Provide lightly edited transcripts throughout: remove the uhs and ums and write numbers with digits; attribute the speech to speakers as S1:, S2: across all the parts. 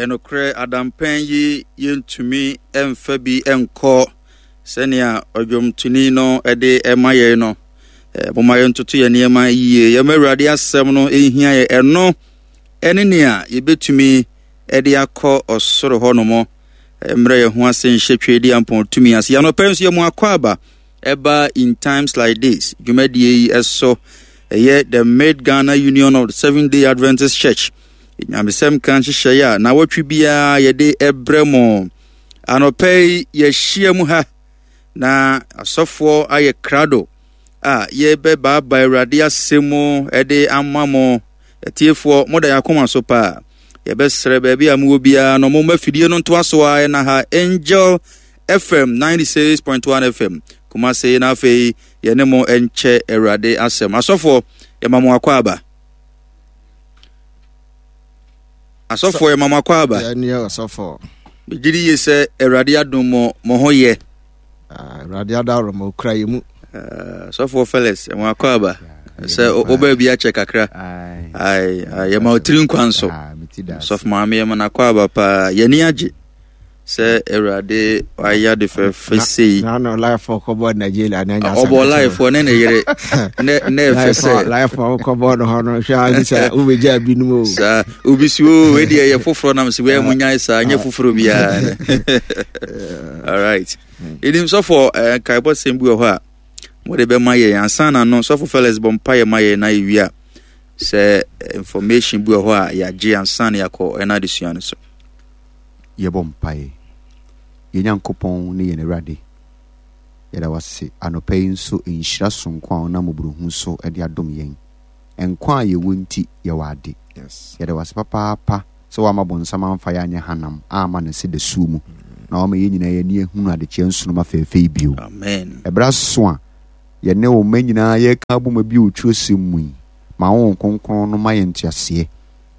S1: Ɛyɛ nokorɛ, adampɛn yi yɛntumi mfa bi nkɔ sɛnea ɔdwomtoni no de ma yɛn no. Momma yɛntoto yɛn nneɛma yie. Yɛma Awurade asɛm no nhia yɛn. Ɛno ne nea yɛbɛtumi de akɔ ɔsoro hɔnom. Mmerɛ yɛn ho ase nhyɛ Tweediampɔn tumi ase. Yɛanɔpɛ nso yɛ mu akɔ aba ɛba In Times Like This dwumadie yi ɛso. Ɛyɛ the Mid Ghana Union of the Seventh Day Adventist Church. Nyamesɛm ka nhyehyɛeɛ a nawɔtwe biara yɛde ɛbrɛ mo. Anɔpɛ yi yɛahyia mu ha na asɔfoɔ ayɛ krado a yɛbɛbaaba Awurade asɛm mu de ama mo. Atiefoɔ, moda yɛn akoma so paa. Yɛbɛsrɛ baabi a mowɔ biara no, momma fidie no ntoa so ara ɛna ha Angel FM 96.1 FM Kumase na afei yɛne mo nkyɛ Awurade asɛm. Asɔfoɔ, yɛma mo akɔ aba. Asɔfoɔ, yɛma mo akɔ aba.
S2: Yɛne ɔsɔfoɔ.
S1: Megye di yie sɛ Awurade adom mo, mo ho yɛ.
S2: Ah, Awurade adaworo ma okura yɛ mu.
S1: Ah, sɔfoɔ Felix, ɛmo akɔ aba. Sɛ wobaa bi akyɛ kakra. Ai, yɛma otiri nkwa nso. Sɔfo maame yɛma no akɔ aba paa. Yɛni agye sɛ Awurade wayɛ ade fɛfɛ sei.
S2: Na no life kɔbɔ Nigeria na nya.
S1: Ɔbɔ life ne ne yere. Ne ne ɛfɛ sɛ.
S2: Life kɔbɔ no hɔ no hwɛ a sɛ wobɛgya binom o.
S1: Saa obi si o wei deɛ yɛ foforɔ nam sɛ wei mu nyae saa nyɛ foforɔ biara. All right. Ɛnim sɔfo eh, nkaebɔ sɛm bi wɔ hɔ a mode bɛma yɛn ansa na no sɔfo Felix bɔ mpaeɛ ma yɛn na yɛwie a sɛ eh, information bi wɔ hɔ a yɛagye ansa na yɛakɔ ɛna adesua no so.
S3: Yɛbɔ mpaeɛ. Yɛn Nyankopɔn ne yɛn Awurade, yɛda wo ase anɔpa yi nso nhyira sononko a wonam mmɔborɔhunu so de adom yɛn. Nkwa a yɛwɔ nti, yɛwɔ ade. Yɛda wo ase papaapa sɛ woamma bonsam amfa yɛn anyɛ hanam amma no sɛ dasuo mu, na woama yɛn nyinaa yɛn ani ahunu adekyeɛ nsoromma fɛɛfɛ yi bio.
S1: Amen.
S3: Ɛberɛ aso a yɛne wo mma nyinaa yɛreka abom abue wo twerɛsɛm mu yi, ma wo Honhom Kronkron no ma yɛn nteaseɛ,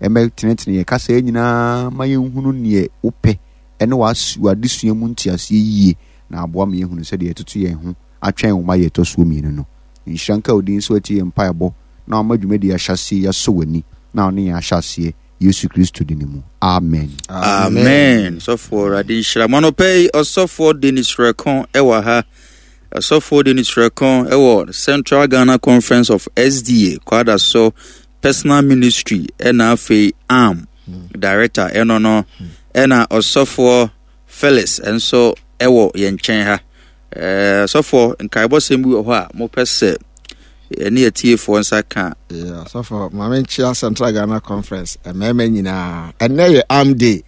S3: ɛmmɛtenetene yɛn kasaa nyinaa ma yɛnhunu neɛ wopɛ ɛne w'adesua mu nteaseɛ yie, na aboa ma yɛahunu sɛdeɛ yɛtoto yɛn ho atwɛn wo ma yɛ ɛtɔ soɔ mmienu no. Nhyira nka wo din sɛ woatie yɛn mpaebɔ na wama dwumadie ahyɛaseɛ yi asɔ w'ani na wo ne yɛn ahyɛ aseɛ Yesu Kristo dini mu. Amen.
S1: Amen. Sɔfoɔ Awurade nhyira mo. Anɔpa yi ɔsɔfoɔ Dennis Rɛko ɛwɔ ha. Ɔsɔfoɔ Dennis Rɛko ɛwɔ Central Ghana Conference of SDA Kwadaso Personal Ministry ɛna afei ARM Director ɛno no ɛna ɔsɔfoɔ Felix nso ɛwɔ yɛn nkyɛn ha. Ɛɛ sɔfoɔ nkaebɔsɛm bi wɔ hɔ a mopɛ sɛ ɛne atiefoɔ nsa ka.
S2: Yeah, sɔfoɔ maame nkyia Central Ghana Conference mmarima nyinaa ɛnɛ yɛ arm day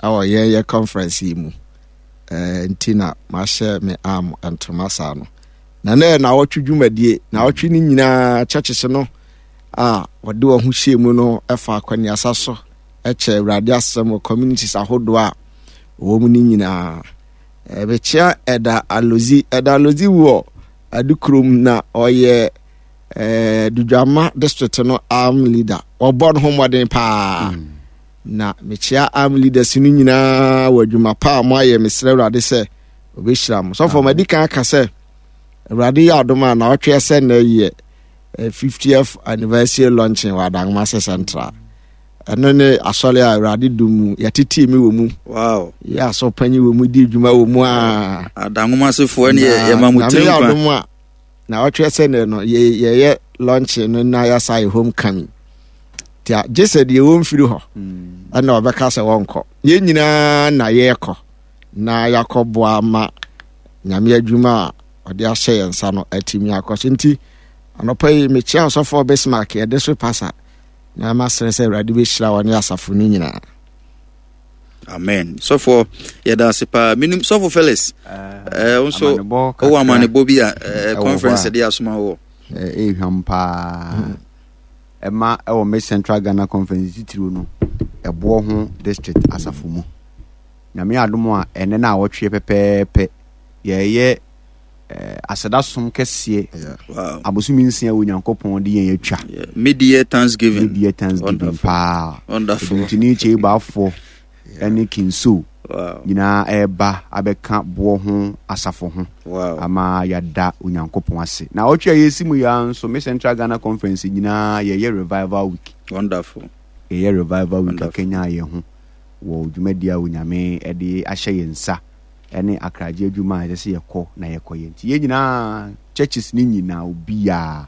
S2: ɛwɔ yɛn yɛ conference yi mu ɛɛ nti na mahyɛ me arm ntoma saa no na nɛ na awɔtwe dwumadie na awɔtwe no nyinaa churches no a wɔde wɔn ho hyɛ mu no ɛfa akwaniasa so ɛkyɛ awurade asɛm wɔ communities ahodoɔ a wɔwɔ mu no nyinaa. Mekyea Ɛda Alozi. Ɛda Alozi wɔ Adukurom na ɔyɛ eh, Dudwama district no arm leader. Ɔbɔ ne ho mmɔden paa. Mm. Na mekyea arm leaders no nyinaa wɔ adwuma pa a moayɛ. Mesrɛ Awurade sɛ ɔbɛhyira mo. Sɔfo, madi kan aka sɛ Awurade yɛ adom a na ɔtweɛ sɛ nnɛ yɛ 50th eh, anniversary launching wɔ Adanwomase Central. Ɛno ne asɔre a Awurade dom mu yɛtetee me wɔ mu.
S1: Wow.
S2: Yɛ asɔpanyin wɔ mu di dwuma wɔ mu a.
S1: Adanwomasefoɔ ne yɛma mo tiri nkwa.
S2: Nyame adom a na ɔtwerɛ sɛ ne no yɛyɛ launch no na yɛasa yɛ home coming. Tia gye sɛ deɛ wɔmfiri hɔ hmm. ɛna ɔbɛka sɛ wɔnkɔ. Yɛn nyinaa na yɛrekɔ na yɛakɔboa ma Nyame adwuma a ɔde ahyɛ yɛn nsa no atumi akɔ so nti anɔpa yi mekyia ɔsɔfoɔ Bismarck yɛde so pasa Na masrɛ sɛ Awurade bɛhyira wɔne asafo no nyinaa.
S1: Amen. Sɔfoɔ, yɛda ase paa. Menim Sɔfo Felix, eh, wo nso wowɔ amanebɔ bi a eh, conference de asoma wɔ.
S3: Ɛhwam paa. Hmm. Ɛma ɛwɔ me Central Ghana Conference titiriw no, ɛboɔ ho district asafo mu. Nyame adom a ɛnɛ no a wɔtweɛ pɛpɛɛpɛ yɛyɛ Eh, aseda som kɛseɛ abosome nsia wɔ Nyankopɔn de yɛn atwa.
S1: Mid-year Thanksgiving.
S3: Mid-year Thanksgiving paa.
S1: Wonderful.
S3: Ɛdumtini Kyeibafoɔ ɛne Kinso nyinaa ɛreba abɛka boɔ ho asafo ho ama yɛada Onyankopɔn ase. Na ɔtwe a yɛsi mu yɛa nso me Central Ghana Conference nyinaa yɛyɛ revival week.
S1: Wonderful.
S3: Yɛyɛ revival week akanya yɛn ho. wɔ dwumadi a Onyame de ahyɛ yɛn nsa ne akragye adwuma a ɛsɛ sɛ yɛkɔ na yɛkɔyɛ. Nti yɛn nyinaa, churches no nyinaa, obiara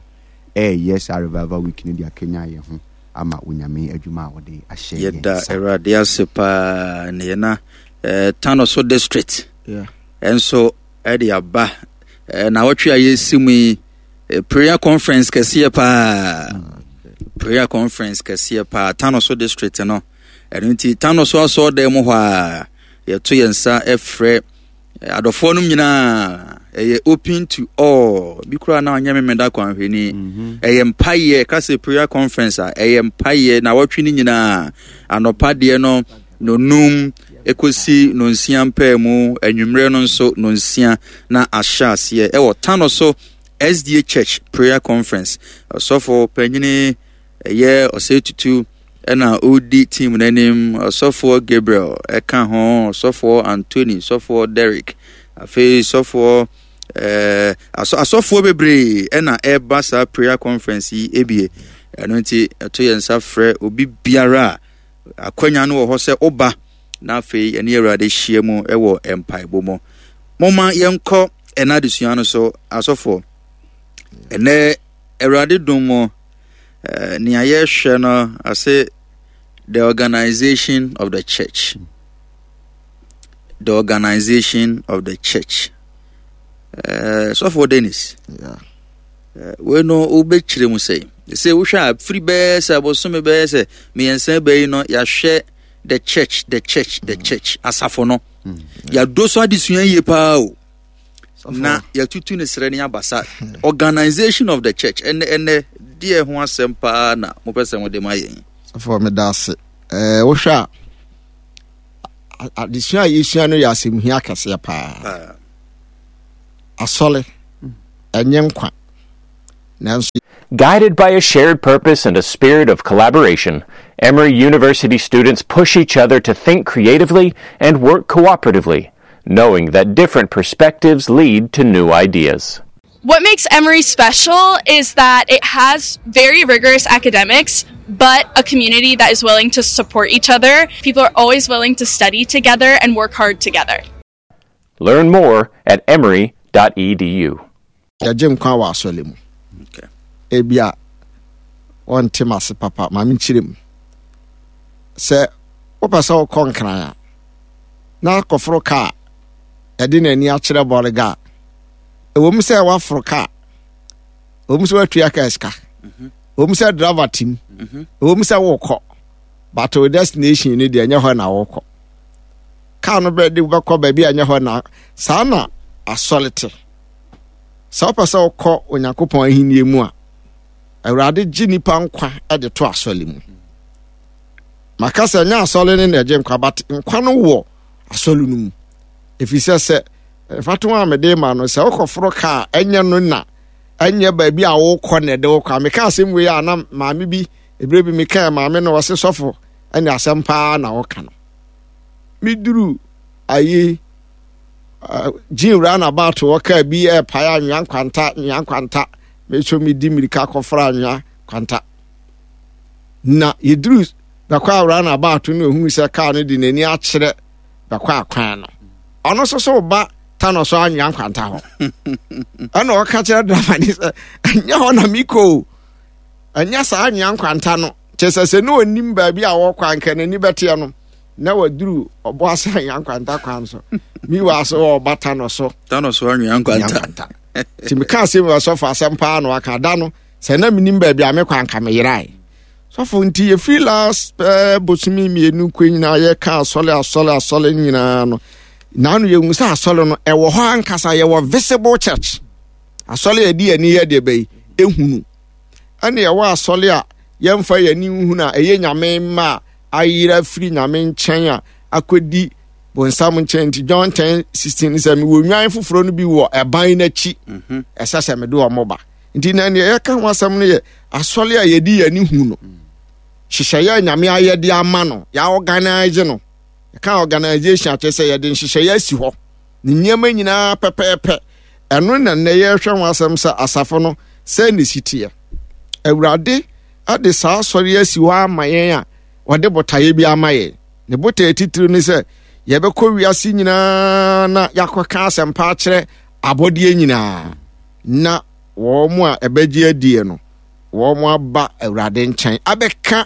S3: ɛreyɛ saa revival week no de akanyan yɛn ho ama Onyame adwuma a ɔde ahyɛ yɛn
S1: Yɛda
S3: nsa.
S1: Awurade ase paa ne yɛn na eh, Tanoso district
S2: Yeah.
S1: nso ɛde aba eh, na wɔtwe a yɛsi mu yi eh, prayer conference kɛseɛ paa prayer conference kɛseɛ paa Tanoso district no ɛno nti Tanoso asɔɔdan mu hɔ a yɛto yɛn nsa frɛ eh, adɔfoɔ nom nyinaa ɛyɛ open to all bi koraa na ɔnyɛ memeda kwanhwɛni mhm. ɛyɛ mpayɛ ka sɛ prayer conference a ɛyɛ mpayɛ na wɔtwe no nyinaa anɔpa deɛ no nonum ɛkɔsi nonsia mpaa mu anwummerɛ no nso nonsia na ahyɛ aseɛ ɛwɔ tano so sda church prayer conference ɔsɔfo panyini ɛyɛ ɔsɛ tutu ɛna ɔredi team no anim ɔsɔfoɔ Gabriel ɛka ho ɔsɔfoɔ Anthony sɔfoɔ Derrick afei sɔfoɔ ɛɛ asɔ asɔfoɔ bebree ɛna ɛreba saa prayer conference yi ebie ɛno nti ɛto yɛn nsa frɛ obi biara a akwanya no wɔ hɔ sɛ ɔba na afei ɛne awurade hyia mu ɛwɔ mpaebɔ mu moma yɛnkɔ ɛna adesua no so asɔfoɔ ɛnɛ awurade dom mu Eh, nea yɛhwɛ no ase the organization of the church the organization of the church eh, sɔfoɔ dennis
S2: yeah.
S1: eh, wei no wobɛkyerɛ mu sɛ sɛ wohwɛ a firi bɛyɛ sɛ abosome bɛyɛ sɛ mmiɛnsa bɛyi no yɛahwɛ the church the church the mm. church asafo no mm. yɛadɔ so adesua yie paa o na yɛatutu ne serɛ ne abasa organization of the church ɛnɛ ɛnɛ deɛ ho asɛm paa na mopɛ sɛ mode ma yɛn
S2: sɔfoɔ meda ase ɛɛ wohwɛ a adesua a yɛsua no yɛ asɛmhia kɛseɛ paa asɔre ɛnyɛ nkwa nanso
S4: Guided by a shared purpose and a spirit of collaboration, Emory University students push each other to think creatively and work cooperatively, knowing that different perspectives lead to new ideas.
S5: What makes Emory special is that it has very rigorous academics, but a community that is willing to support each other. People are always willing to study together and work hard together.
S4: Learn more at emory.edu.
S2: Yɛgye nkwa wɔ asɔre mu. Ebia wɔnte m'ase papa, ma menkyerɛ mu. Sɛ wopɛ sɛ wokɔ nkran a, na akɔforo kaa ɛde n'ani akyerɛ bɔrega a, ɛwɔ mu sɛ woaforo kaa, ɛwɔ mu sɛ woatua kaa sika, mhm. ɛwɔ mu sɛ driver tim, mhm. ɛwɔ mu sɛ wokɔ, but wo destination no deɛ ɛnyɛ hɔ na wokɔ. Kaa no bɛde wobɛkɔ baabi a ɛnyɛ hɔ na saa na asɔre te. Sɛ wopɛ sɛ wokɔ Onyankopɔn ahenni mu a, Awurade gye nipa nkwa de to asɔre mu. Maka sɛ ɛnyɛ asɔre no na ɛgye nkwa, but nkwa no wɔ asɔre no mu. Ɛfiri sɛ sɛ mfatoho a mede ma no sɛ wokɔforo kaa ɛnyɛ no na ɛnyɛ baabi a wokɔ na ɛde wokɔ a meka asɛm wei a na maame bi ebire bi meka maame no ɔse sɔfo ɛne asɛm paa na ɔka no meduru ayi gyin roundabout wɔ kaa bi ɛrepae anwea nkwanta anwea nkwanta meso medi mmirika kɔfra anwea kwanta na yɛduru bɛkɔ a roundabout no ohunu sɛ kaa no de n'ani akyerɛ bɛkɔ akwan no ɔno nso so ba ta no so anwea nkwanta hɔ ɛna ɔka kyerɛ driver ne sɛ ɛnyɛ hɔ na mekɔ o ɛnyɛ saa anwea nkwanta no kyɛ sɛ sɛ ne ɔnim baabi a wɔkɔ anka n'ani bɛteɛ no na waduru ɔbɔ ase anwea nkwanta kwan so miwa so ɔba ta no so
S1: ta no so anwea nkwanta
S2: nti meka asɛm wɔ sɔfo asɛm paa na waka da no sɛ na menim baabi a mekɔ anka meyerae sɔfo nti yɛfiri last eh, bosome mmienu kɔ nyinaa yɛka asɔre asɔre asɔre nyinaa no naano yɛhu sɛ asɔre no ɛwɔ hɔ ankasa yɛwɔ visible church asɔre a yɛde yɛni yɛ deɛ bɛyi ehunu ɛne ɛwɔ asɔre a yɛmfa yɛni nhunu a ɛyɛ nyame mma a ayera firi nyame nkyɛn a akɔdi bonsam nkyɛn nti John 10 16 sɛ mewɔ nnwan foforɔ no bi wɔ ɛban no akyi mhm. ɛsɛ sɛ mede wɔn ba nti na nea yɛka ho asɛm no yɛ asɔre a yɛde yɛn ani hu no nhyehyɛeɛ a nyame ayɛ de ama no yɛaorganise no yɛka organisation akyerɛ sɛ yɛde nhyehyɛeɛ asi hɔ ne nneɛma nyinaa pɛpɛɛpɛ ɛno na nnɛ yɛrehwɛ ho asɛm sɛ asafo no sɛ ne si teɛ awurade de saa asɔre asi hɔ ama yɛn a ɔde botaeɛ bi ama yɛn. Ne botae titiriw ne sɛ yɛbɛkɔ wiase nyinaa na yɛakɔka asɛmpa akyerɛ abɔdeɛ nyinaa na wɔn a ɛbɛgye adie no wɔn aba Awurade nkyɛn abɛka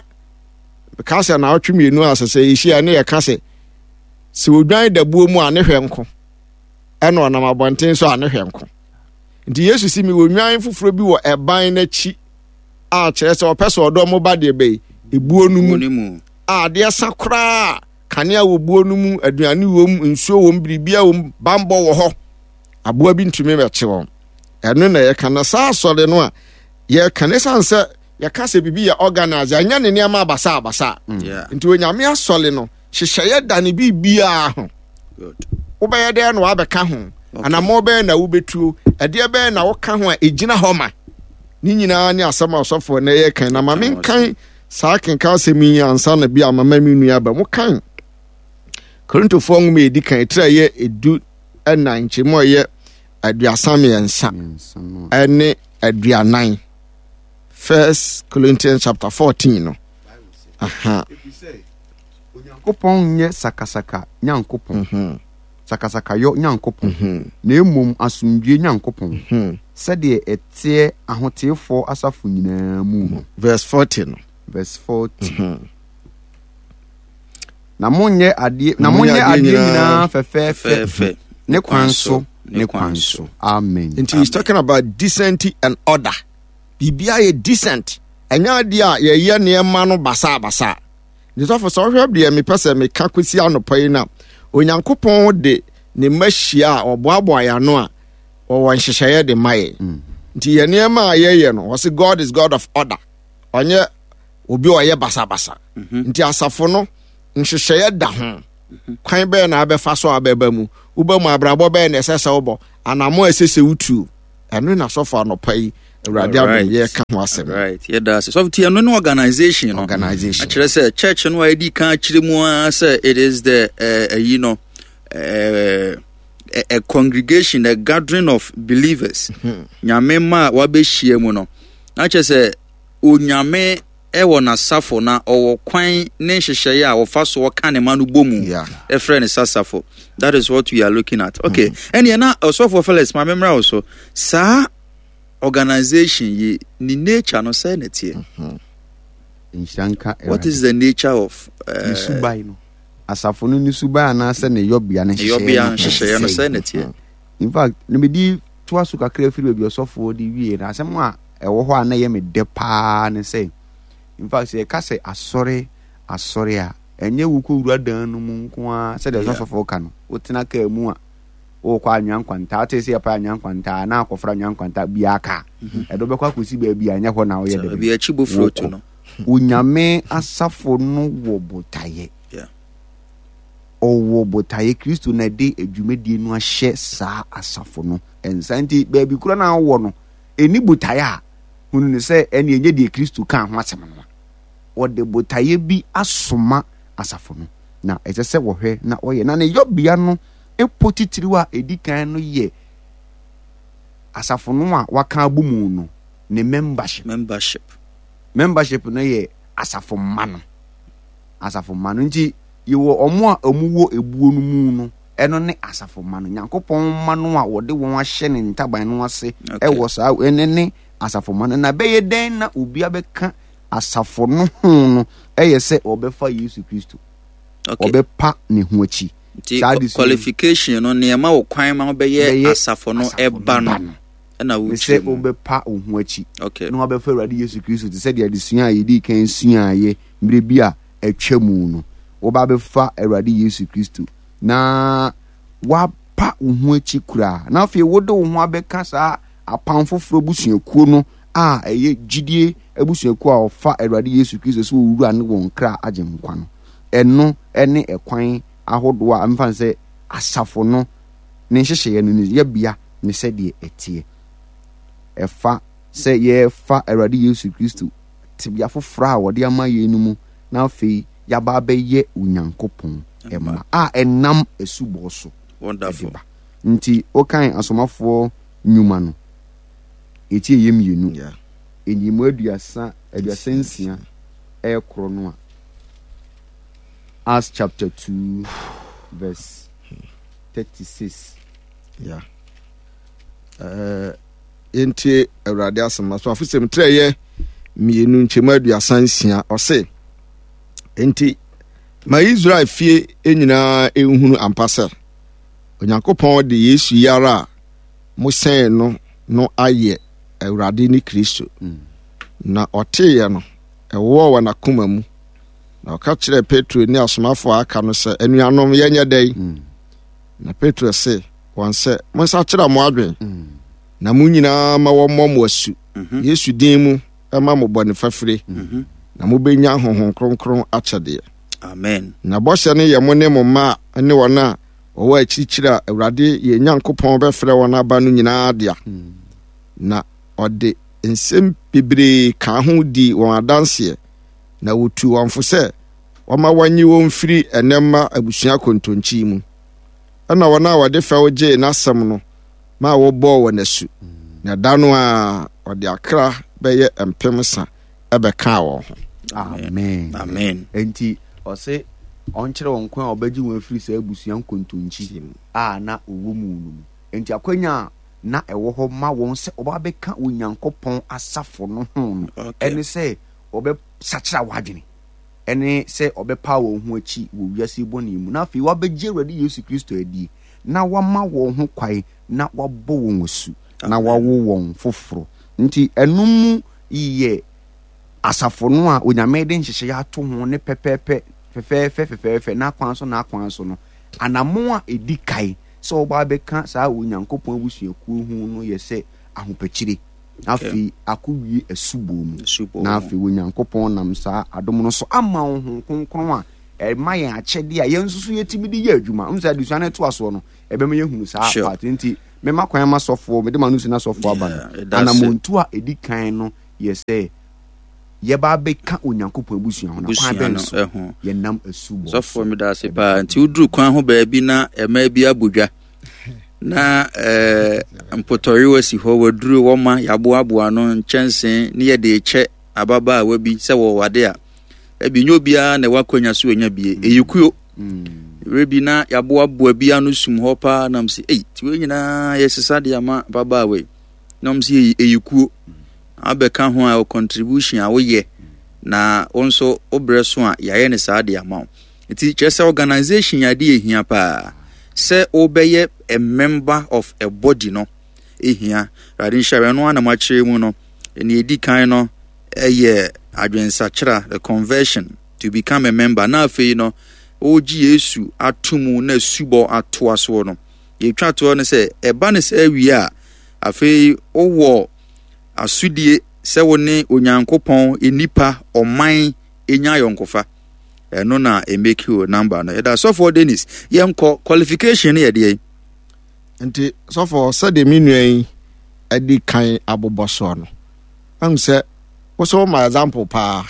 S2: ka sɛ naawɔtwe mmienu a sɛ sɛ yɛhyia ne yɛka sɛ sɛ odwan da buo mu a ne hwɛ nko ɛna ɔnam abɔnten so a ne hwɛ nko nti Yesu si mi wɔ nwan foforɔ bi wɔ ɛban n'akyi a kyerɛ sɛ ɔpɛ sɛ ɔdɔ mo ba deɛ bɛyi ebuo no mu a adeɛ sa koraa kanea wɔ buo no mu aduane wɔ mu nsuo wɔ mu biribiara wɔ mu bambɔ wɔ hɔ aboa bi ntumi bɛkye wɔn ɛno na yɛka na saa asɔre no a yɛka ne san sɛ yɛka sɛ biribi yɛ organize ɛnyɛ ne nneɛma abasa abasa mm. nti onyame asɔre no hyehyɛeɛ da ne biribiara ho wobɛyɛ dɛn na wabɛka ho anammɔ bɛyɛ na wobɛtuo ɛdeɛ bɛyɛ na woka ho a ɛgyina hɔ ma ne nyinaa ne asɛm a ɔsɔfoɔ na ɛyɛ kan na ma menkan saa kenkan asɛm yi ansa na bi a mama me nua aba mu kan Korintofoɔ nwoma ɛdi kan ɛtiri a ɛyɛ edu ɛna nkyɛmu a ɛyɛ 33 ɛne 40 First Corinthians chapter 14 no. Aha.
S3: Onyankopɔn nyɛ sakasaka Nyankopɔn, mhm. sakasakayɔ Nyankopɔn, mhm. na mmom asomdwie Nyankopɔn, mhm. sɛdeɛ ɛteɛ ahoteefoɔ asafo nyinaa mu no.
S2: Verse 40 no.
S3: Verse 40. Na monyɛ adeɛ na monyɛ adeɛ nyinaa fɛfɛɛfɛ ne kwan so ne kwan so. Amen.
S2: Nti he's talking about decency and order. Biribiara yɛ decent. Ɛnyɛ adeɛ a yɛyɛ nneɛma no basabasa. Ne sɔfo sɛ ɔhwɛ deɛ mepɛ sɛ meka kɔsi anɔpa yi no a, Onyankopɔn de ne mma hyia a ɔboaboa yɛn ano a ɔwɔ nhyehyɛeɛ de ma yɛn. Mm. Nti yɛn nneɛma a yɛyɛ no, wɔse God is God of order. Ɔnyɛ obi a ɔyɛ basabasa. Mhm. Nti asafo no nhyehyɛeɛ da ho. Mhm. Kwan bɛyɛ na abɛfa so abɛba mu. Woba mu abrabɔ bɛyɛ na ɛsɛ sɛ wobɔ. Anamo a ɛsɛ sɛ wotuo. Ɛno na sɔfo anɔpa yi awurade adom yɛka ho asɛm.
S1: Right. Yɛda ase. Sɔfo ti ɛno ne organization no.
S2: Organization.
S1: Akyerɛ sɛ church no a yɛdi kan akyerɛ mu ara sɛ it is the ɛyi no a, a congregation, a gathering of believers. Hmm. Nyame ma a wabɛhyia mu no. Na kyerɛ sɛ Onyame wɔ n'asafo na ɔwɔ kwan ne nhyehyɛeɛ a ɔfa so ɔka ne ma no bɔ mu ɛfrɛ ne sasafo. That is what we are looking at. Okay. Ɛneɛ na ɔsɔfoɔ Felix ma memmra wo so. Saa organization yi ne nature no sɛ na ɛteɛ.
S3: Nhyira nka
S1: What is the nature of
S3: ne suban no? Asafo no ne suban anaasɛ ne yɔbea ne
S1: nhyehyɛeɛ no sɛ na ɛteɛ.
S3: In fact, na medi toa so kakra firi baabi ɔsɔfoɔ de wie no asɛm a ɛwɔ hɔ a na ɛyɛ me dɛ paa ne sɛ in fact sɛ yɛka sɛ asɔre asɔre a ɛnyɛ wokɔwura dan no mu nko ara sɛdeɛ ɔsɔfoɔ ka no wotena kaa mu a wokɔ anwea nkwantaa te sɛ yɛpa anwea nkwantaa na akɔfra anwea nkwantaa biara kaa mhm. ɛde wobɛkɔ akɔsi baabi a ɛnyɛ hɔ na woyɛ dɛ wokɔ Onyame asafo no wɔ botaeɛ ɔwɔ botaeɛ. Kristo na ɛde dwumadie no ahyɛ saa asafo no nsa. Nti baabi korɔ no a wowɔ no, ɛni botaeɛ a, hunu no sɛ ɛne ɛnyɛ deɛ Kristo kaa ho asɛm no a. Ɔde botaeɛ bi asoma asafo no, na ɛsɛ sɛ wɔhwɛ na wɔyɛ. Na ne yɔbea no po titiriw a ɛdi kan no yɛ asafo no a waka abɔ mu no ne membership.
S1: Membership.
S3: Membership no yɛ asafo mma no. Asafo mma no nti yɛwɔ wɔn a wɔwɔ ebuo no mu no, ɛno ne asafo mma no. Nyankopɔn mma no a wɔde wɔn ahyɛ ne ntaban no ase ɛwɔ saa ɛne ne asafo mma no. Na bɛyɛ dɛn na obi abɛka asafo no ho no ɛyɛ sɛ ɔbɛfa Yesu Kristo. Ɔbɛpa ne ho akyi.
S1: Nti qualification no nneɛma wɔ kwan ma wobɛyɛ asafo no ɛba no.
S3: Ɛna ne sɛ wobɛpa wo ho akyi na wabɛfa Awurade Yesu Kristo te sɛ deɛ adesua a yɛdii kan suaeɛ mmerɛ bi a atwa mu no. Woba abɛfa Awurade Yesu Kristo na woapa wo ho akyi koraa na afei wode wo ho abɛka saa apam foforɔ abusuakuo no a ɛyɛ gyidie abusuakuo a wɔfa Awurade Yesu Kristo sɛ owura ne wɔn kra agye nkwa no. Ɛno ne ɛkwan ahodoɔ a mfa no sɛ asafo no ne nhyehyɛeɛ no ne yɛbea ne sɛdeɛ ɛteɛ. Ɛfa sɛ yɛfa Awurade Yesu Kristo tebea foforɔ a wɔde ama yɛn no mu na afei yɛaba abɛyɛ Onyankopɔn mma a ɛnam asubɔ so de ba. Nti wokan asomafoɔ nnwuma no, ɛti ɛyɛ mmienu, nyiyimu 36 ɛrekorɔ no a, Acts chapter 2 verse 36.
S2: Yeah. Uh, yɛntie Awurade asɛm. Asomafo sɛm trɛ yɛ mmienu nkyɛmu 36 ɔse, enti ma Israel fie nyinaa nhunu ampa sɛ Onyankopɔn de Yesu yi ara a mosɛn no no ayɛ Awurade ne Kristo. Na ɔteeɛ no, ɛwɔɔ wɔn akoma mu. Na ɔka kyerɛɛ Petro ne asomafo a aka no sɛ, Anuanom, yɛnyɛ dɛn? Mm. Na Petro se wɔn sɛ, Monsakyera mo adwen, mm. na mo nyinaa ma wɔmmɔ mo asu, mm-hmm. Yesu din mu ma mo bɔne fafire, mm-hmm. na mobɛnya Honhom Kronkron akyɛdeɛ.
S1: Amen.
S2: Na bɔhyɛ no yɛ mo ne mo mma ne wɔn a wɔwɔ akyirikyiri a Awurade yɛn Nyankopɔn bɛfrɛ wɔn aba no nyinaa dea. Mm. Na ɔde nsɛm bebree kaa ho dii wɔn adanseɛ, na wɔtuu wɔn fo sɛ wɔma wɔnye wɔn mfiri ɛnnɛ mma abusua kontonkyi mu. Ɛnna wɔn a wɔde fɛw gyee n'asɛm no maa wɔbɔɔ wɔn asu, na da no ara ɔde akra bɛyɛ 300 bɛkaa wɔn ho.
S3: Amen.
S1: Amen.
S3: Enti ɔse ɔnkyerɛ wɔn kwan a ɔbɛgye wɔn afiri saa abusua nkontonkyi a na wɔwɔ mu no mu. Enti akwanya a na ɛwɔ hɔ ma wɔn sɛ wɔba bɛka Onyankopɔn asafo no ho no ɛne sɛ wɔbɛsakyera wɔn adwene, ɛne sɛ wɔbɛpa wɔn ho akyi wɔ wiase bɔne mu, na afei wɔabɛgye Awurade Yesu Kristo adie, na wɔama wɔn ho kwan na wɔabɔ wɔn asu, na wɔawo wɔn foforɔ. Nti ɛno mu yɛ asafo no a Onyame de nhyehyɛeɛ ato ho ne pɛpɛɛpɛ, fɛfɛɛfɛ fɛfɛɛfɛ, n'akwan so n'akwan so no, anammɔn a ɛdi kan sɛ wɔba abɛka saa Onyankopɔn abusuakuo ho no yɛ sɛ ahopakyire, na afei akɔwie asubɔ mu, na afei Onyankopɔn nam saa adom no so ama wo Honhom Kronkron a ɛma yɛn akyɛdeɛ a yɛn nso so yɛtumi de yɛ adwuma. Wohu sɛ adesua no ɛtoa soɔ no, ɛbɛma yɛahunu saa part nti mema kwan ma sɔfoɔ, mede ma no si na sɔfoɔ aba no. Anammɔntuo a ɛdi kan no yɛ sɛ yɛba abɛka Onyankopɔn abusua ho, na kwan bɛn so yɛnam asubɔ
S1: so? Sɔfoɔ meda ase paa. Nti woduru kwan ho baabi na ɛmaa bi abɔ dwa na eh, mpotɔyewa si hɔ, waduru wɔma yɛaboaboa no nkyɛnse ne yɛde rekyɛ ababaawa bi sɛ wɔwɔ ade a, ebi nyɛ obiara na ɛwɔ akwanya so ɔnya bie. Ɛyɛ kuo. Berɛ bi na yɛaboaboa bi ano sum hɔ paa nam sɛ, ei, ti wei nyinaa yɛsesa de ama ababaawa yi. Na wɔn sɛ ɛyɛ kuo. Abɛka ho a contribution a woyɛ na wo nso wo berɛ so a yɛayɛ no saa de ama wo. Nti kyerɛ sɛ organization yɛ adeɛ ɛhia paa sɛ wobɛyɛ a member of a body no ɛhia. Awurade nhyira ɛno ara na moakyerɛ mu no. Nea ɛdi kan no ɛyɛ adwensakyera, the conversion to become a member. Na afei no wogye Yesu ato mu na asubɔ atoa soɔ no. Yɛtwa toɔ no sɛ ɛba no saa wie a afei wowɔ asodie sɛ wo ne Onyankopɔn, nnipa, ɔman nya ayɔnkofa. Ɛno na ɛmeki o number no. Yɛda sɔfoɔ Dennis, yɛnkɔ qualification no yɛ deɛ.
S2: Nti sɔfoɔ sɛdeɛ me nua yi adi kan abobɔ soɔ no, ahu sɛ wo sɛ woma example paa.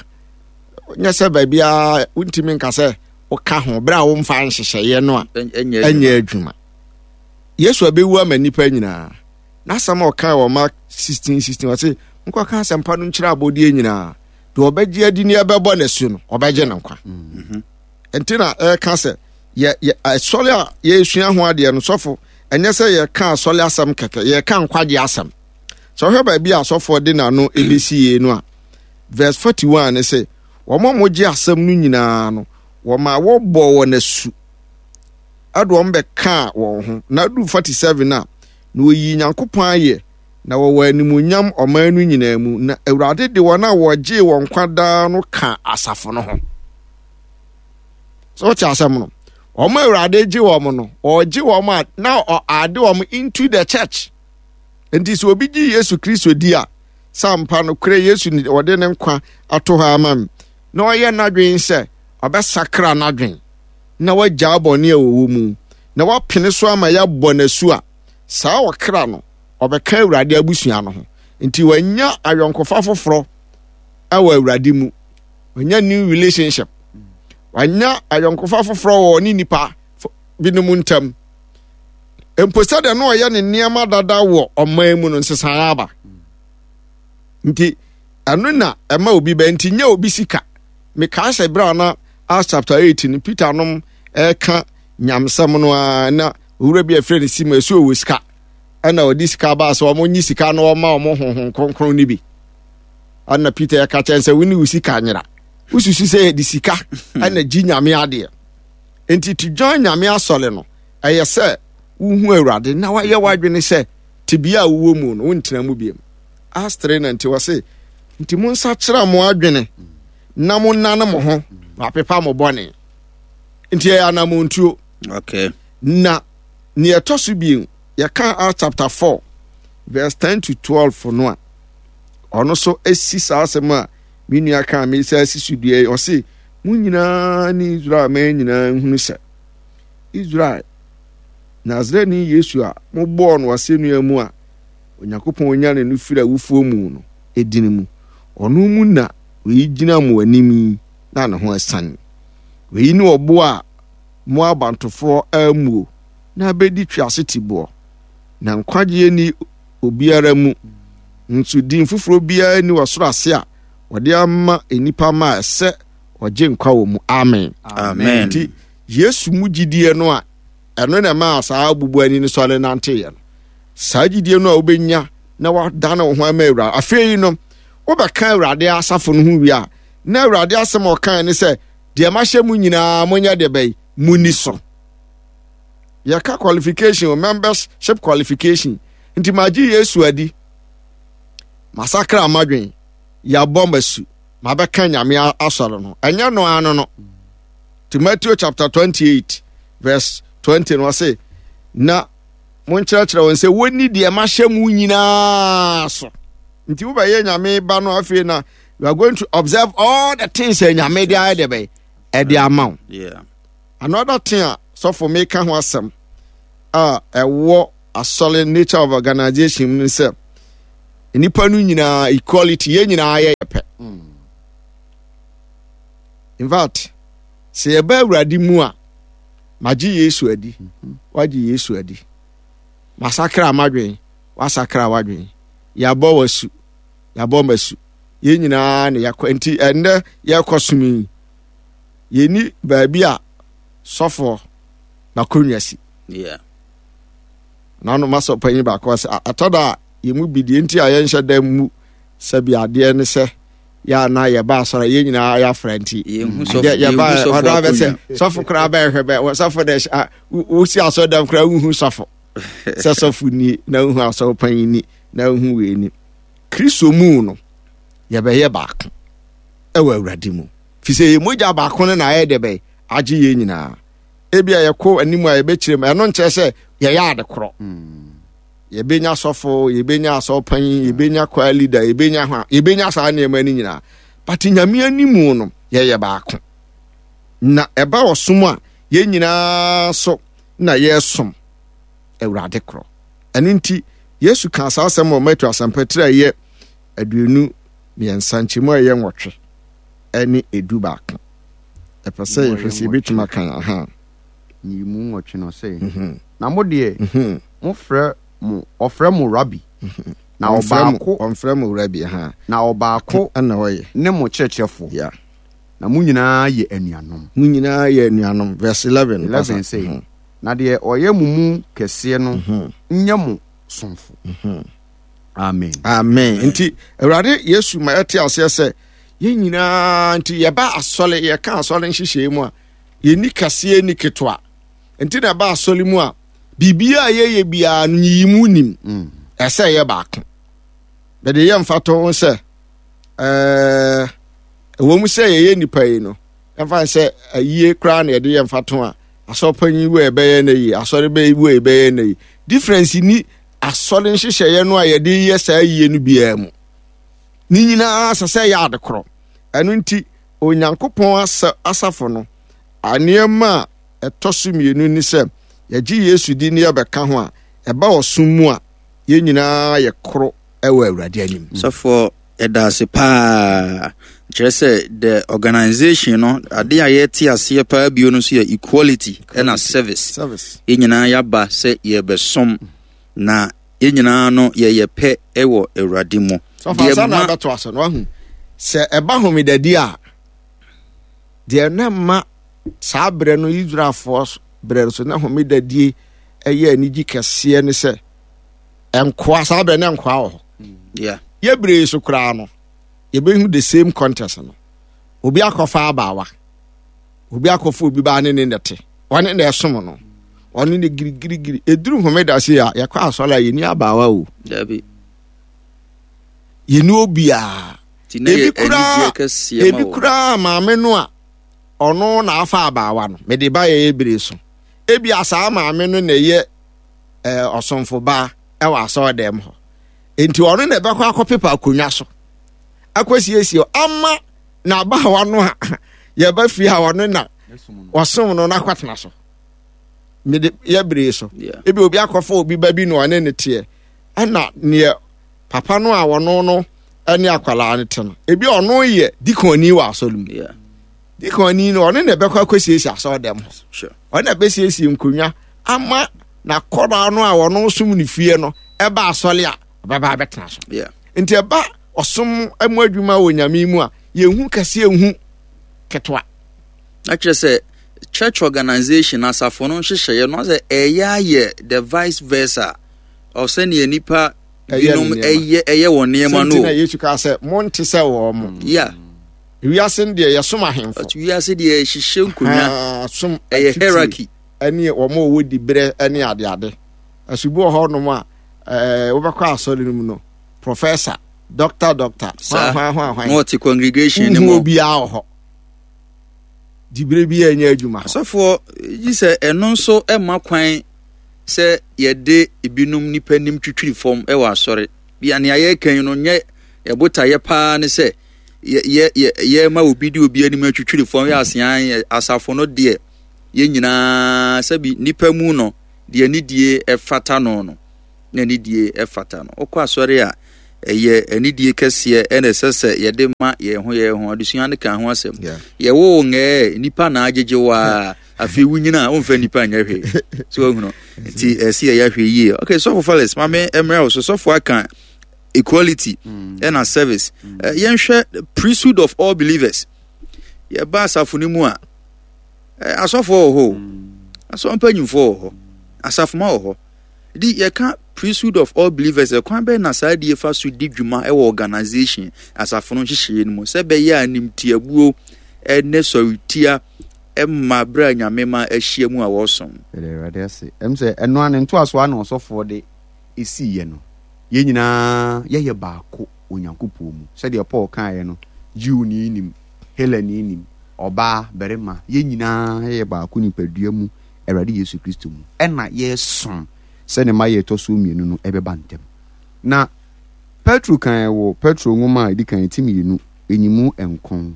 S2: Nyɛ sɛ baabiara wontumi nka sɛ woka ho berɛ a womfa nhyehyɛeɛ no a ɛnyɛ adwuma. Yesu abɛwu ama nnipa nyinaa. N'asɛm a ɔkae wɔ Mark 16 16 ɔse, Monkɔka asɛmpa no nkyerɛ abɔdeɛ nyinaa. Deɛ ɔbɛgye adi ne ɛbɛbɔ n'asu no, ɔbɛgye no nkwa. Mm-hmm. Nti na ɛka sɛ yɛ yɛ asɔre a yɛresua ho adeɛ no sɔfo ɛnyɛ sɛ yɛka asɔre asɛm kɛkɛ, yɛka nkwagye asɛm. Sɛ ɔhwɛ baabi a asɔfoɔ de n'ano ɛbɛsi yie no a, verse 41 ne sɛ wɔn a wɔgye asɛm no nyinaa no, wɔma wɔbɔ wɔn asu ɛde wɔn bɛkaa wɔn ho. Na adu 47 a, na wɔyii Nyankopɔn ayɛ, na wɔwɔ animuonyam ɔman no nyinaa mu, na Awurade de wɔn a wɔgyee wɔn nkwa daa no ka asafo no ho. So wote asɛm no? Wɔn a Awurade gye wɔn no, ɔgye wɔn a na ɔade wɔn into the church. Nti sɛ obi gye Yesu Kristo di a, sɛ ampa no korɛ Yesu ɔde ne nkwa ato hɔ ama me, na ɔyɛ n'adwene sɛ ɔbɛsakra n'adwene na wagyaa bɔne a wɔwɔ mu, na wapene so ama yɛabɔ no asu a, saa ɔkra no, ɔbɛka Awurade abusua no ho. Nti wanya ayɔnkofa foforɔ wɔ Awurade mu. Wanya new relationship. Wanya ayɔnkofa foforɔ wɔ ne nipa binom ntam. Mpo sɛdeɛ na ɔyɛ ne nneɛma dada wɔ ɔman mu no, nsesaeɛ aba. Nti ɛno na ɛma obi bɛ nti nyɛ obi sika. Mekaa sɛ berɛ a na Acts chapter 8 no, Peter nom ɛka nyamsɛm no ara na owura bi a ɛfrɛ no Simon ɛsɛ ɔwɔ sika ɛna ɔde sika baa sɛ wɔn nyi sika na wɔma wɔn honhom kronkron no bi. Ɛna Peter ɛka kyɛn sɛ wo ne wo sika nyera. Wosusu sɛ yɛde sika ɛna gye nyame adeɛ. Nti to join nyame asɔre no ɛyɛ sɛ wohu Awurade na wayɛ w'adwene sɛ tebea a wowɔ mu no wontena mu biom. Acts 3 na nti wɔse nti monsakyera mo adwene na monnane mo ho na apepa mo bɔne. Nti ɛyɛ anamontuo.
S1: Okay.
S2: Na nea ɛtɔ so bio yɛka Acts chapter 4 verse 10 to 12 no a ɔno so esi saa asɛm a me nua kaa me sɛ asi so dua yi ɔse mo nyinaa ne Israel man nyinaa nhunu sɛ Israel Nasareni Yesu a mobɔɔ no asɛnnua mu a Onyankopɔn nyane no firi awufoɔ mu no edin mu. Ɔno mu na wei gyina mo anim yi na ne ho asiane. Wei ne ɔboɔ a mo abantofoɔ ammuo na abɛdi twease tiboɔ. Na nkwagyeɛ nni obiara mu, nso din foforɔ biara nni ɔsoro ase a wɔde ama nnipa ma a ɛsɛ ɔgye nkwa wɔ mu. Amen.
S1: Amen.
S2: Nti Yesu mu gyidie no a ɛno na ɛmaa saa obubuani no sɔre nanteeɛ no. Saa gyidie no a wobɛnya na wadane wo ho ama Awurade. Afei no, wobɛka Awurade asafo no ho wie a, na Awurade asɛm a ɔkae ne sɛ, deɛ mahyɛ mu nyinaa monyɛ deɛ bɛyi, munni so. Yɛka qualification, membership qualification. Nti magye Yesu adi, masakra m'adwen, yɛabɔ m'asu, mabɛka Nyame asɔre no. Ɛnyɛ no ano no. Nti Matthew chapter 28 verse 20 no ɔse, na monkyerɛkyerɛ wɔn sɛ wɔnni deɛ mahyɛ mu nyinaa so. Nti wobɛyɛ Nyame ba no afei na you are going to observe all the things a Nyame de ayɛ deɛ bɛyɛ ɛde ama wo.
S1: Yeah.
S2: Another thing a sɔfo meka ho asɛm a ɛwɔ asɔre nature of organization mu sɛ nnipa no nyinaa equality yɛn nyinaa yɛ pɛ. In fact, sɛ yɛba Awurade mu a, magye Yesu adi, wagye Yesu adi. Masakra m'adwene, wasakra w'adwene. Yɛabɔ w'asu, yɛabɔ m'asu. Yɛn nyinaa na yɛakɔ. Nti ɛnnɛ yɛrekɔ som yi, yɛnni baabi a sɔfoɔ n'akonnwa si.
S1: Yeah.
S2: Nano masɔ panyin baako sɛ atɔ da a yɛn mu bi deɛ nti a yɛnhyɛ da mu sɛbi adeɛ ne sɛ yɛ a na yɛba asɔre yɛn nyinaa yɛafra nti yɛba ɔdɔ abɛ sɛ sɔfo koraa bɛhwɛ bɛ sɔfo dɛ wosi asɔre dɛm koraa wohu sɔfo sɛ sɔfo ni na wohu asɔre panyin ni na wohu wei ni Kristo mu no yɛbɛyɛ baako ɛwɔ Awurade mu fi sɛ yɛ mogya baako no na ayɛ dɛ bɛyɛ agye yɛn nyinaa ebi a yɛkɔ anim a yɛbɛkyerɛ mu ɛno nkyerɛ sɛ yɛyɛ ade korɔ mm. Yɛbɛnya sɔfo, yɛbɛnya asɔrpanyin, yɛbɛnya choir leader, yɛbɛnya hwa, yɛbɛnya saa nneɛma no nyinaa. But Nyame animu no, yɛyɛ baako. Na ɛba ɔsom a, yɛn nyinaa so na yɛresom Awurade korɔ. Ɛno nti, Yesu kaa saa asɛm wɔ Mateo Asɛmpa tiri a ɛyɛ 23 nkyɛmu a ɛyɛ 8 ne 11. Ɛpɛ sɛ yɛhwɛ sɛ yɛbɛtumi akan aha.
S3: Nyiyimu nwɔtwe no ɔse, mhm. Na mo deɛ, mhm. mofrɛ mo, ɔfrɛ mo Rabi, mhm. na ɔbaako,
S2: ɔmfrɛ mo Rabi, ha,
S3: na ɔbaako
S2: ɛna ɔyɛ,
S3: ne mo kyerɛkyerɛfoɔ,
S2: yeah.
S3: Na mo nyinaa yɛ anuanom.
S2: Mo nyinaa yɛ anuanom. Verse 11.
S3: 11 sɛ, mm. na deɛ ɔyɛ mo mu kɛseɛ no mm-hmm. nyɛ mo somfo. Mm-hmm. Amen.
S2: Amen. Nti Awurade Yesu ma yɛte aseɛ sɛ yɛn nyinaa nti yɛba asɔre yɛka asɔre nhyehyɛe mu a yɛnni kɛseɛ nni ketewa nti na ɛba asɔre mu a biribiara a yɛyɛ biara no nyiyimu nim mm. ɛsɛ yɛ baako bɛde yɛ mfato ho sɛ ɛɛ ɛwɔ mu sɛ yɛyɛ nipa yi no ɛmfa sɛ ayie koraa na yɛde yɛ mfato a asɔrpanyin wo ɛbɛyɛ na yi asɔre bɛyi wo ɛbɛyɛ na yi difference ni asɔre nhyehyɛeɛ no a yɛde yɛ saa yie no biara mu ne nyinaa sɛ sɛ yɛ ade korɔ ɛno nti Onyankopɔn asafo no, nneɛma a ɛtɔ so mmienu ne sɛ yɛgye Yesu di ne yɛbɛka ho a, ɛba ɔsom mu a, yɛn nyinaa yɛ koro wɔ Awurade anim.
S1: Sɔfoɔ, yɛda ase paa. Kyerɛ sɛ the organization no, ade a yɛte aseɛ paa bio no nso yɛ equality ɛna service.
S2: Service.
S1: Yɛn nyinaa yɛaba sɛ yɛrebɛsom na yɛn nyinaa no yɛyɛ pɛ wɔ Awurade mu.
S2: Sɔfo ansa na abɛto aso no wahu sɛ ɛba homedadi a Deɛ na ɛma saa berɛ no Israelfoɔ berɛ so na homeda die ɛyɛ anigye kɛseɛ ne sɛ nkoa saa berɛ na nkoa wɔ hɔ. Yɛbere so koraa no yɛbɛhu the same contest no. Obi akɔfa abaawa, obi akɔfa obi baa ne ne nɛte, ɔne na ɛsom no, ɔne ne girigirigiri. Ɛduru homeda se a yɛkɔ asɔre a yɛni abaawa o.
S1: Dabi.
S2: Yɛni obiara. Ebi koraa ebi koraa maame no a ɔno na afa abaawa no mede ba yɛyɛ bere so. Ebi asaa maame no na ɛyɛ ɛɛ ɔsomfo baa ɛwɔ asɔre dɛm hɔ. Nti ɔno na ɛbɛkɔ akɔpepa akonnwa so akɔsiesie ama n'abaawa no a yɛba fie a ɔno na ɔsom no n'akɔtena so. Mede yɛ bere so. Ebi obi akɔfa obi ba bi na ɔne ne teɛ ɛna neɛ papa no a ɔno no ne akwadaa no te no ebi ɔno yɛ dikɔnni wɔ asɔre mu dikɔnni no ɔno na ɛbɛkɔ akɔsiesie asɔre dɛm hɔ ɔno na ɛbɛsiesie nkonnwa ama n'akɔdaa no a ɔno som ne fie no ɛba asɔre a ɔbɛba abɛtena so nti ɛba ɔsom mu adwuma wɔ nyame mu a yɛnhu kɛse yɛnhu ketewa.
S1: Na kyerɛ sɛ church organization asafo no nhyehyɛeɛ no sɛ ɛyɛ ayɛ the vice versa ɔsɛnea nipa binom ɛyɛ ɛyɛ wɔn nneɛma no.
S2: Sɛ nti na Yesu kaa sɛ monte sɛ wɔn mo.
S1: Yeah.
S2: Wiase no deɛ yɛsom ahemfo.
S1: Wiase deɛ yɛhyehyɛ nkonnwa.
S2: Som
S1: ɛyɛ hierarchy.
S2: Ɛne wɔn a wɔwɔ diberɛ ɛne adeade. Ɛso bi wɔ hɔnom a ɛɛ wobɛkɔ asɔre no mu no professor doctor doctor.
S1: Saa
S2: hwan hwan hwan.
S1: Na ɔte congregation no mu.
S2: Wohu obiara wɔ hɔ. Diberɛ bi a ɛnyɛ adwuma.
S1: Asɔfoɔ gye sɛ ɛno nso ɛma kwan. sɛ yɛde ebinom nnipa anim twitwiri fam wɔ asɔre. Bia nea yɛreka yi no nyɛ yɛbotaeɛ paa ne sɛ yɛ yɛ yɛma obi de obi anim atwitwiri fam yɛ asean asafo no deɛ yɛn nyinaa sɛbi nnipa mu no deɛ anidie ɛfata no no na anidie ɛfata no. Wokɔ asɔre a ɛyɛ anidie kɛseɛ ɛna ɛsɛ sɛ yɛde ma yɛn ho yɛn ho. Adesua no ka ho asɛm. Yɛwo ngɛɛ nnipa na agyegye wo a afei wonyina a womfa nnipa nyɛ hwee so wahunu nti ɛsɛ yɛyɛ ahwɛ yie. Okay, sɔfo Felix maame mmerɛ wo so. Sɔfo aka equality ɛna service. Yɛnhwɛ priesthood of all believers. Yɛba asafo no mu a asɔfoɔ wɔ hɔ o, asɔfo mpanyimfoɔ wɔ hɔ, asafoma wɔ hɔ. Di yɛka priesthood of all believers, ɛkwan bɛn na saa die fa so di dwuma wɔ organization asafo no nhyehyɛeɛ no mu sɛ ɛbɛyɛ a nimtiabuo ne sɔretia mma berɛ a Nyame ma ahyia mu a wɔsom?
S3: Yɛda Awurade ase. Ɛm sɛ ɛno ara ne ntoasoɔ ara na ɔsɔfoɔ de siiɛ no. Yɛn nyinaa yɛyɛ baako wɔ Nyankopɔn mu. Sɛdeɛ Paul kaeɛ no, Jewni nim, Helani nim, ɔbaa, barima, yɛn nyinaa yɛyɛ baako nipadua mu Awurade Yesu Kristo mu, ɛna yɛresom sɛ ne mmaeɛ a ɛtɔ soɔ mmienu no ɛbɛba ntɛm. Na Petro kaeɛ wɔ Petro nwoma a ɛdi kan ti mmienu nyimu nkron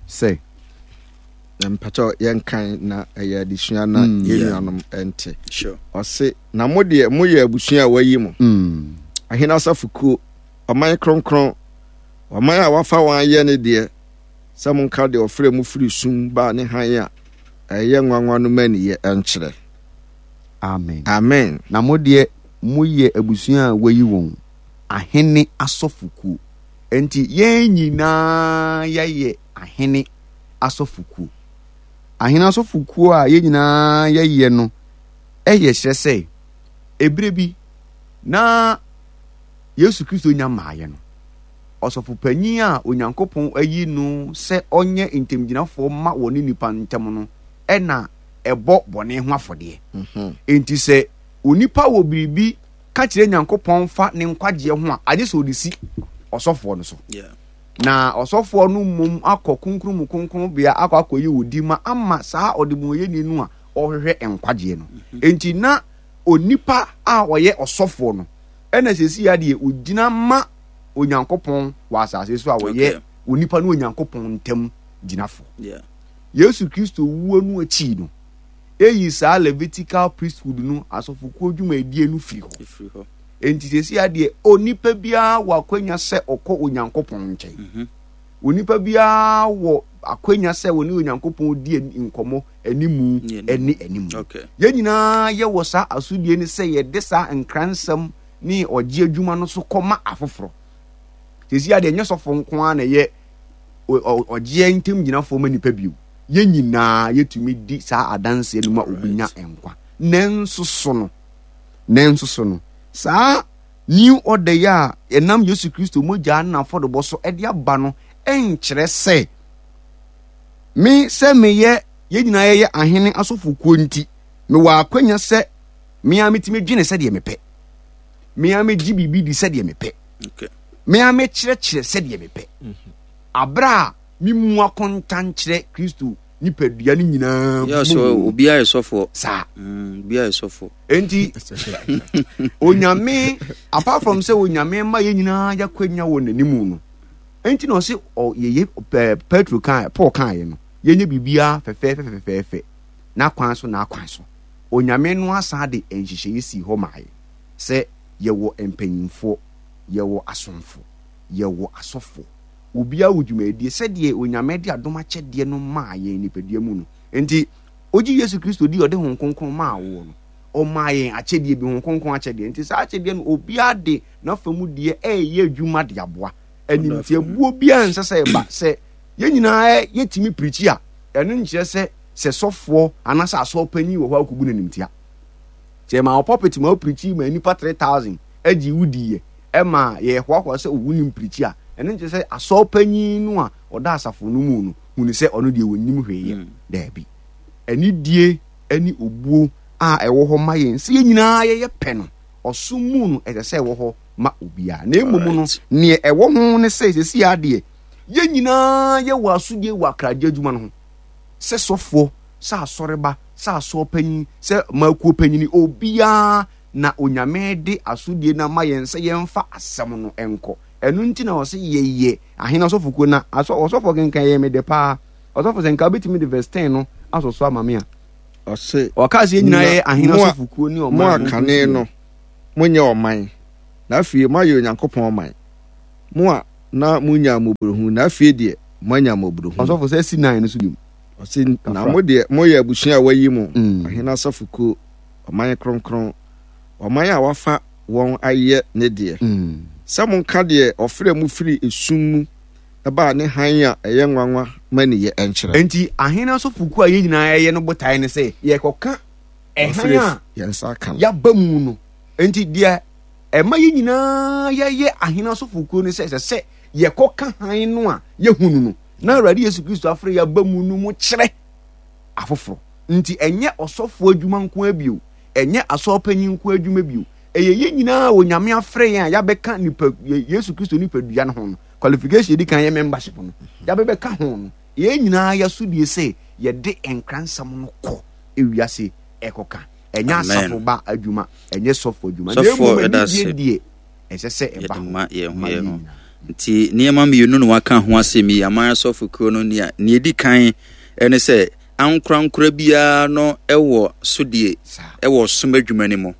S3: sɛ.
S2: Na mpakyɛw yɛnkan na ɛyɛ adesua na mm, yɛn nuanom nte. Ɔse, na mo deɛ moyɛ abusua a wɔayi mo, mm. ahene asafokuo, ɔman kronkron, ɔman a wafa wɔn ayɛ ne deɛ, sɛ monka deɛ ɔfrɛ mo firi sum baa ne hann a ɛyɛ nwanwa no mmaniyɛ nkyerɛ.
S3: Amen.
S2: Amen.
S3: Na mo deɛ moyɛ abusua a wɔayi wɔn, ahene asɔfokuo. Enti yɛn nyinaa yɛyɛ ahene asɔfokuo. Ahene asɔfokuo a yɛn nyinaa yɛyɛ no yɛ kyerɛ sɛ ɛberɛ bi na Yesu Kristo nya mmaeɛ no, ɔsɔfopanyin a Onyankopɔn ayi no sɛ ɔnyɛ ntamgyinafoɔ ma wɔne nnipa ntam no na ɛbɔ bɔne ho afɔdeɛ. Mhm. Enti sɛ onipa wɔ biribi ka kyerɛ Nyankopɔn fa ne nkwagyeɛ ho a, agye sɛ ɔde si ɔsɔfoɔ no so. Na ɔsɔfoɔ no mmom akɔ kronkron mu kronkronbea akɔ akɔyi odi ma ama saa ɔdebɔneyɛni no a ɔrehwehwɛ nkwagyeɛ no. Mhm. Enti na onipa a ɔyɛ ɔsɔfoɔ no ɛna sɛsi adeɛ ɔgyina ma Onyankopɔn wɔ asase so a wɔyɛ onipa ne Onyankopɔn ntam gyinafo. Yesu Kristo wuo no akyi no, eyi saa Levitical priesthood no asɔfokuo dwumadie no firi hɔ. Enti sɛsi adeɛ onipa biara wɔ akwanya sɛ ɔkɔ Onyankopɔn nkyɛn. Mhm. Onipa biara wɔ akwanya sɛ wɔne Onyankopɔn di nkɔmmɔ animu ne animu. Yɛn nyinaa yɛwɔ saa asodie no sɛ yɛde saa nkransɛm ne ɔgye adwuma no so kɔma afoforɔ. Sɛsi adeɛ nyɛ sɔfo nko ara na ɛyɛ ɔgyeɛ ntam gyinafoɔ ma nipa bio. Yɛn nyinaa yɛtumi di saa adanseɛ no ma obi nya nkwa. Nanso so no, nanso so no, saa new order yi a ɛnam Yesu Kristo mogya ne n'afɔrebɔ so de aba no nkyerɛ sɛ me sɛ meyɛ yɛn nyinaa yɛyɛ ahene asɔfokuo nti mewɔ akwanya sɛ me ara metumi dwene sɛdeɛ mepɛ, me ara megye biribi di sɛdeɛ mepɛ, me ara mekyerɛkyerɛ sɛdeɛ mepɛ, mhm. aberɛ a memu akonta nkyerɛ Kristo nipadua no nyinaa
S1: mu. So obiara yɛ sɔfoɔ.
S3: Saa.
S1: Mm, obiara yɛ sɔfoɔ.
S3: Enti onyame apart from sɛ onyame ma yɛn nyinaa yɛakwanya wɔ n'anim no, enti na ɔse yɛyɛ Petro kan Paul kan yɛ no yɛnyɛ biribiara fɛfɛɛfɛ fɛfɛɛfɛ n'akwan so n'akwan so. Onyame no asan de nhyehyɛeɛ sii hɔ maa yɛn sɛ yɛwɔ mpanyimfoɔ, yɛwɔ asomfo, yɛwɔ asɔfoɔ. Obiara wɔ dwumadie sɛdeɛ Onyame de adom akyɛdeɛ no maa yɛn nipadua mu no. Enti, wogye Yesu Kristo di a ɔde Honhom Kronkron maa woɔ no, ɔmaa yɛn akyɛdeɛ bi, Honhom Kronkron akyɛdeɛ. Enti saa akyɛdeɛ no, obiara de n'afa mu deɛ ɛreyɛ adwuma de aboa. Animtiabuo biara nsɛ sɛ ɛba. Sɛ yɛn nyinaa yɛtumi pirikyi a, ɛno nkyerɛ sɛ sɛ sɔfoɔ anaasɛ asɔr panyin wɔ hɔ a wokɔbu no animtia. Sɛ yɛmaa wo pulpit ma wopirikyi ma nnipa 3000 gyee wo diiɛ ma yɛhoahoa sɛ wonim pirikyi a, ɛno nkyerɛ sɛ asɔr panyin no a ɔda asafo no mu no hunu sɛ ɔno deɛ ɔnnim hwee yɛ. Daabi. Anidie ne obuo a ɛwɔ hɔ ma yɛn sɛ yɛn nyinaa yɛyɛ pɛ no, ɔsom mu no ɛsɛ sɛ ɛwɔ hɔ ma obiara. Na mmom no, neɛ ɛwɔ ho ne sɛ seesei ara deɛ yɛn nyinaa yɛwɔ asodie wɔ akragye adwuma no ho. Sɛ sɔfoɔ, sɛ asɔreba, sɛ asɔrpanyin, sɛ makuo panyini, obiara na Onyame de asodie no ama yɛn sɛ yɛmfa asɛm no nkɔ. Ɛno nti na ɔse yɛyɛ ahene asɔfokuo na asɔ ɔsɔfoɔ kenkan yɛ me dɛ paa. Ɔsɔfo sɛ nka wobɛtumi de verse 10 no asɔ so ama me a.
S2: Ɔse,
S3: Ɔkaa sɛ yɛn nyinaa yɛyɛ ahene asɔfokuo ne ɔman
S2: mo a kane no monyɛ ɔman, na afei moayɛ Onyankopɔn ɔman. Mo a na munnya mmɔborɔhunu, na afei deɛ, moanya mmɔborɔhunu.
S3: Ɔsɔfo, sɛ si nan no so bio.
S2: Ɔse, na mo deɛ, moyɛ abusua a wɔayi mo, ɔhene asɔfokuo, ɔman kronkron, ɔman a wafa wɔn ayɛ ne deɛ, sɛ monka deɛ ɔfrɛɛ mo firii esum mu baa ne hann a ɛyɛ nwanwa mmaniyɛ nkyerɛ.
S3: Enti ahene asɔfokuo a yɛn nyinaa yɛyɛ no botaeɛ ne sɛ yɛrekɔka ɛhan a
S2: Yɛn nsa aka no.
S3: yɛaba mu no. Enti deɛ ɛma yɛn nyinaa yɛyɛ ahene asɔfokuo no sɛ ɛsɛ sɛ yɛkɔka hann no a yɛhunu no na Awurade Yesu Kristo afrɛ yɛn aba mu no mu kyerɛ afoforɔ. Nti ɛnyɛ ɔsɔfoɔ adwuma nko ara bio, ɛnyɛ asɔrepanyin nko adwuma bio. Ɛyɛ yɛn nyinaa a Onyame afrɛ yɛn a yɛabɛka nipa Yesu Kristo nipadua no ho no. Qualification yɛdi kan yɛ membership no. Yɛabɛbɛka ho no. Yɛn nyinaa yɛasodie sɛ yɛde nkransɛm no kɔ ewiase ɛkɔka. Ɛnyɛ asafo ba adwuma, ɛnyɛ sɔfo adwuma. Na mmom anigye deɛ ɛsɛ sɛ ɛba hɔ
S1: ma yɛn ho yɛn ho. Nti nneɛma mmienu na waka ho asɛm yi, aman asɔfo kuo no nea nea edi kan ne sɛ ankorankora biara no wɔ sodie wɔ ɔsom adwuma no mu.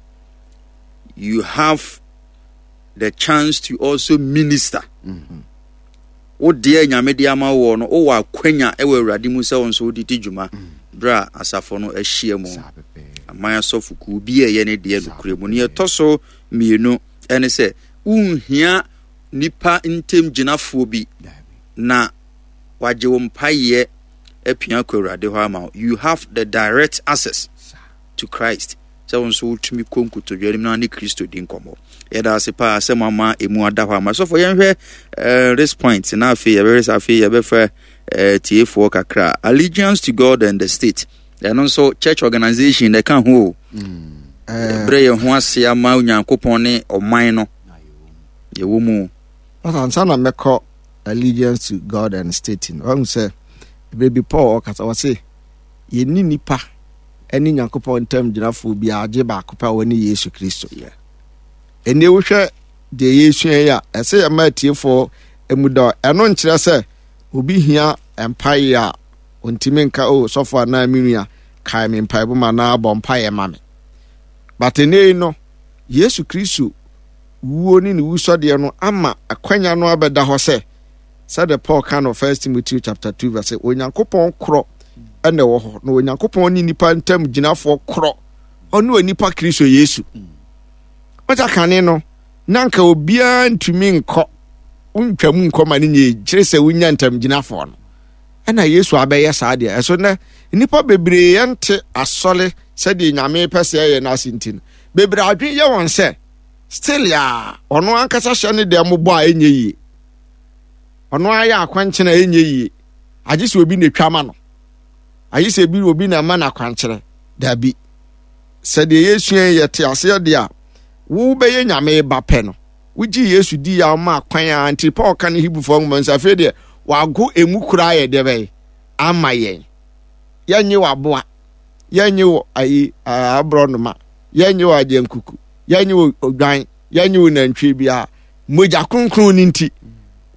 S1: You have the chance to also minister. Mm -hmm. Wo deɛ Nyame de ama woɔ no, wowɔ akwanya wɔ Awurade mu sɛ wo nso wode di dwuma berɛ a asafo no ahyia mu. Aman asɔfokuo bi a ɛyɛ ne deɛ nokorɛ mu. Neɛ ɛtɔ so mmienu ɛne sɛ, wonhia nipa ntam gyinafoɔ bi na wagye wo mpaeɛ apia kɔ Awurade hɔ ama wo. You have the direct access to Christ. sɛ wo nso wotumi kɔ nkotodwe anim na ne Kristo di nkɔmmɔ. Yɛda ase paa sɛ moama emu ada hɔ ama. Sɔfo yɛnhwɛ uh, this point na afei yɛbɛhwɛ sɛ afei yɛbɛfa uh, tiefoɔ kakra. Allegiance to God and the state. Ɛno nso church organization na ɛka ho o. Mm. Brɛ yɛn ho ase ama Onyankopɔn ne ɔman no. Yɛwɔ mu.
S2: Ansa na mɛkɔ allegiance to God and state no, wahu sɛ berɛ bi Paul ɔkasa ɔse yɛnni nnipa ne Nyankopɔn ntam gyinafoɔ biara gye baako pɛ a ɔne Yesu Kristo. Ɛnni wohwɛ deɛ yɛresua yi a, ɛsɛ yɛma atiefoɔ mu dɔ. Ɛno nkyerɛ sɛ obi hia mpaeɛ a ɔntumi nka o oh, sɔfo anaa me nua kae me mpaebɔ mu anaa bɔ mpaeɛ ma me. But ɛnɛ yi no, Yesu Kristo wuo ne ne wusɔdeɛ no ama akwanya no abɛda hɔ sɛ Sɛdeɛ Paul ka no First Timothy chapter 2 verse Onyankopɔn korɔ na ɛwɔ hɔ na Onyankopɔn ne nipa ntam gyinafoɔ korɔ ɔne onipa Kristo Yesu. Wɔn kane no na nka obiara ntumi nkɔ. Wontwa mu nkɔ ma no nyɛ kyerɛ sɛ wonya ntamgyinafoɔ no. Ɛna Yesu abɛyɛ saa deɛ. Ɛso nnɛ, nnipa bebree ɛnte asɔre sɛdeɛ Nyame pɛ sɛ ɛyɛ no ase nti no, bebree adwene yɛ wɔn sɛ still a ɔno ankasa hyɛ ne deɛ mobɔ a ɛnyɛ yie. Ɔno ayɛ akwankyerɛ a ɛnyɛ yie. Agye sɛ obi na ɛtwa ma no. Agye sɛ bi obi na ɛma no akwankyerɛ. Dabi. Sɛ deɛ yɛsua yi yɛte aseɛ deɛ a, wobɛyɛ Nyame ba pɛ no. Wogyee Yesu dii a ɔmaa kwan a nti Paul ka ne Hebrifoɔ nwoma nso afei deɛ wago emu koraa yɛ deɛ bɛyɛ ama yɛn. Yɛnnye wɔ aboa, yɛnnye wɔ ayi aborɔnoma, yɛnnye wɔ agyankuku, yɛnnye wɔ odwan, yɛnnye wɔ nantwie biara. Mogya kronkron no nti,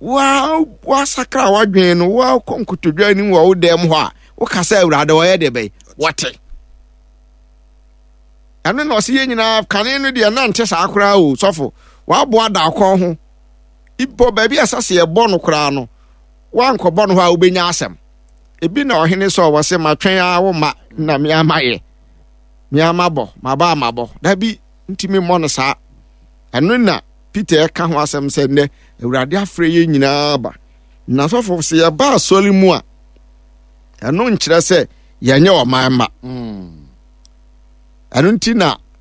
S2: wa wasakra wadwen no, wakɔ nkotodwe anim wɔ wo dɛm hɔ a, woka sɛ Awurade ɔyɛ deɛ bɛyɛ, wɔte. Ɛno na ɔse yɛn nyinaa kane no deɛ na nte saa koraa o sɔfo waboa da kɔn ho ibɔ baabi a ɛsɛ sɛ yɛbɔ no koraa no wankɔbɔ no hɔ a wobɛnya asɛm ebi na ɔhene sɛ ɔwɔ se matwɛn a wo ma na me ama yɛ me ama bɔ maba amabɔ dabi ntumi mmɔ no saa ɛno na Peter ɛka ho asɛm sɛ nnɛ awurade afrɛ yɛn nyinaa ba na sɔfo sɛ yɛba asɔre mu a ɛno nkyerɛ sɛ yɛnyɛ ɔman mma mm. Ɛno nti na